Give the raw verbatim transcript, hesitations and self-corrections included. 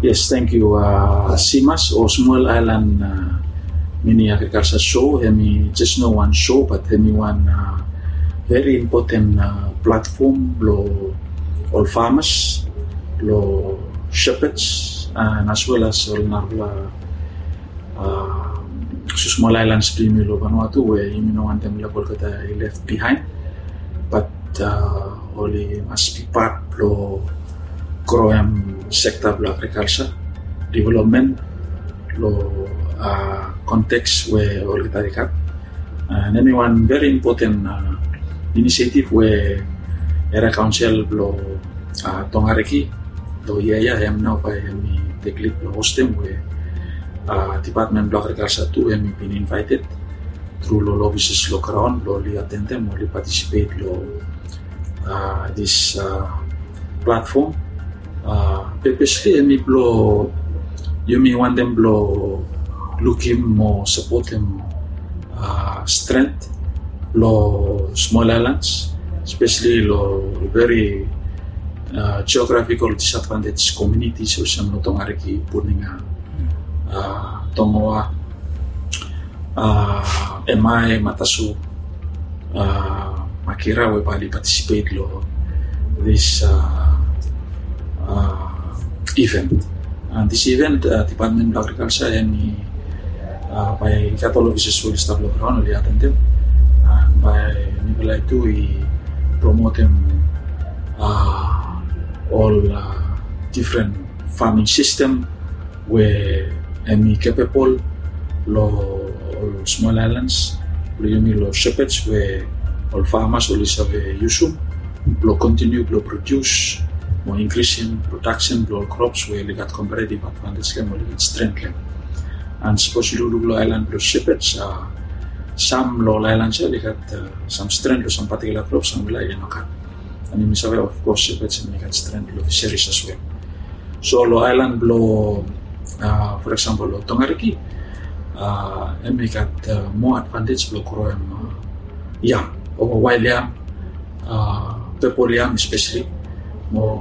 Yes, thank you. Uh, Simas o Small Island uh, Mini Agriculture Show, hemi just no wan show, but hemi wan uh, very important uh, platform lo all farmers, lo shepherds, and as well as all narla uh, small islands blo yumi lo Vanuatu, where yumi no wantem left behind. But uh, oli mas be part lo groem sekta blo agriculture development lo uh, context we olgeta i gat. And hemi wan very important uh, initiative we Area Council blo uh, Tongariki lo ia ia hem nao bae hemi tek lid blo hostem we uh, Department blo Agriculture tu hemi bin invited through lo offices lo graon blo oli attendem, oli participate lo uh, this uh, platform. Uh, purposely hemi blo yumi wantem blo lukim mo supportem uh, strength lo small islands, especially lo very uh, geographical disadvantaged communities olsem lo Tongariki, Puninga, uh, Tongoa, uh, Emai, Matasu, uh, Makira, we bae oli participate lo this uh, uh, event. And this event, uh, Department of Agriculture hemi uh, bae i gat ol offices we oli stap lo graon, oli attendem. And bae mifala tu i promotem uh, ol uh, different farming system we hemi capable lo ol small islands, lo yumi lo shepherds we ol farmers oli save yusum blo continue blo produce mo increasing production blo ol crops we oli gat comparative advantage lo hem, oli gat strength lo hem. And sapos yu lukluk lo island blo shepherds, uh, sam lo ol islands ia oli gat uh, sam strength lo sam particular crops, sam lo hem i no gat. And yumi save, of course, shepherds hemi gat strength lo fisheries as well. So lo island blo uh, for example lo Tongariki, uh, hemi gat uh, more advantage blo groem uh, yam, o wild yam, uh, purple yam especially, mo